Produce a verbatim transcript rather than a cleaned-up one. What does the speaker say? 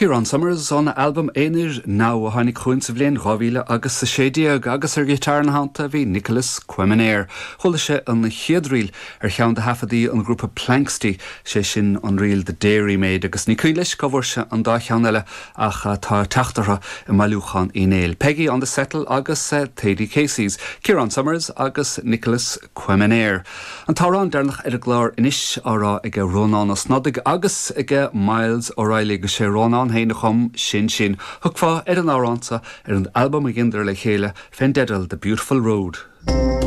Ciarán Summers óna albam aonair Now a tháinig chugainn sa bhliain dhá mhíle agus a sé déag agus ar ghiotár ina theannta bhí Nicholas Quemener. Chuala sibh an chéad ríl ar cheann de thaifeadtaí an ghrúpa Planxty sé sin an ríl The Dairy Maid agus ní cuimhin leis cá bhfuair sé an dá cheann eile ach tá teacht orthu i mbailiúchán Uí Néill. Peggy on the Settle agus Thady Casey's, Ciarán Summers agus Nicholas Quemener. An t-amhrán deireanach ar an gclár anois á rá ag Rónán Ó Snodaigh agus ag Myles O'Reilly agus sé Rónán féin a chum Sin Sin. Thiocfá ar an amhrán seo ar an albam a dheineadar le chéile fén dteideal The Beautiful Road.